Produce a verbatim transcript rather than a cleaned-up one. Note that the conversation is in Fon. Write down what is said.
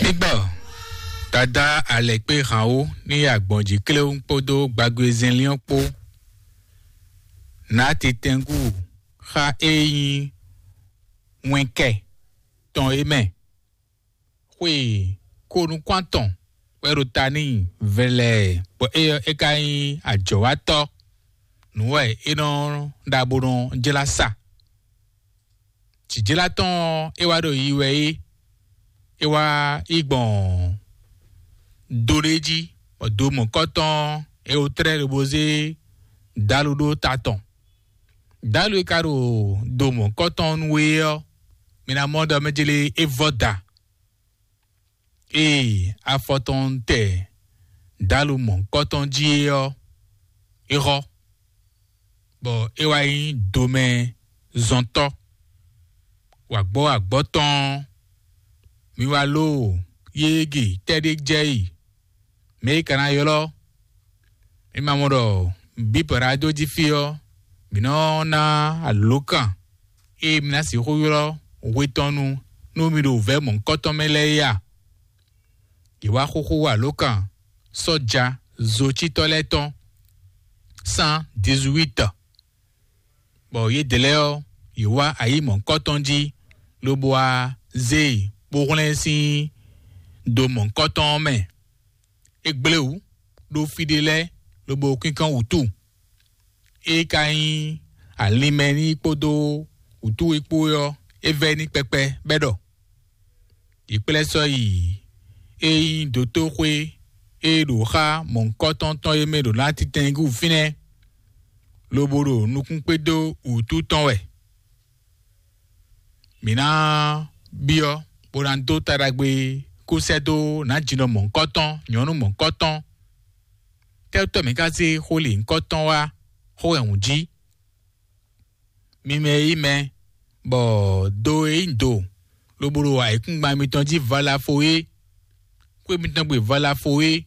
Igbɔ dada alɛkpé hǎn wú ní agbɔ̌njí kléwún kpódó gbagbe zɛnlín ɔ́ kpó. Nǎ titɛngú xá é nyí wɛnkɛ tɔn é mɛ. Xwe konukún atɔn wɛ ɖo ta n'i vɛlɛɛ, bɔ é ɔ́, é ka nyí ajɔ̌watɔ́. Nǔ wɛ é nɔ ɖa bó nɔ jlá sa. Jǐjlá tɔn ɔ́, é wá ɖo yi wɛ é. É wá yi gbɔn do ɖé jí, bɔ do mɔ̌kɔtɔn ɔ́, é wó tlɛ́ lobo zé dǎlu ɖó ta tɔn. Dǎlu e ka ɖo do mɔ̌kɔtɔn nú we ɔ́, mi ná mɔ ɖɔ mɛ jlé é vɔ da. Ée afɔ tɔn tɛ dǎlu mɔ̌kɔtɔn jí é ɔ́, é xɔ, bɔ é wá nyí domɛ zɔntɔ́. Wǎgbɔ́ wǎgbɔ́ tɔn ɔ́, mi wá ló yége tɛ́ɖé jɛ yi, mɛ e ka ná ylɔ́. Mi ma mɔ ɖɔ bǐ bɔ ɖo adó jí fí ɔ́, mǐ nɔ ná alǒkan e mi ná sixú ylɔ́ hwe tɔn nu nú mi ɖo vɛ̌ mɔ̌hunkɔtɔn mɛ lɛ́ɛ é a? Yě wá xúxú alǒkan sɔ́ja zocítɔ́ lɛ́ɛ tɔn cent dix-huit, bɔ yědɛɛ lɛ́ɛ ɔ́, yě wá ayǐ mɔ̌hunkɔtɔn jí, lobo wá zé e bó hwlɛ́n sín do mɔ̌hunkɔtɔn ɔ́ mɛ. É gblé wǔ ɖó fí ɖé lɛ́ɛ, lobo kínkɔ́n wǔtu. É ka nyí alinmɛ n'i kpódó wǔtu e kpó é ɔ́, é vɛ́ n'i kpɛkpɛ bɔ é ɖɔ: Yě kplá ɛ sɔ́ yi é nyí dotóxwé e ɖo xá mɔ̌hunkɔtɔn tɔn e mɛ ɖo ná titɛnnyígú fínɛ́, lobo ɖo nukún kpé dó wǔtu tɔn wɛ. Mǐ ná byɔ́ bó ná dó ta ɖagbe kó sɛ́ dó nǎjinɔ mɔ̌hunkɔtɔn, nyɔ̌nu mɔ̌hunkɔtɔn. Tɛ́tɔ́ mǐ ka zé xó lǐnkɔ́tɔn wá xó wɛ hǔn jí? Mi mɛ e nyí mɛ, bɔ do e nyí do, lobo ɖo ayǐkúngban mitɔn jí valafo é, xwé mitɔn gbe valafo é,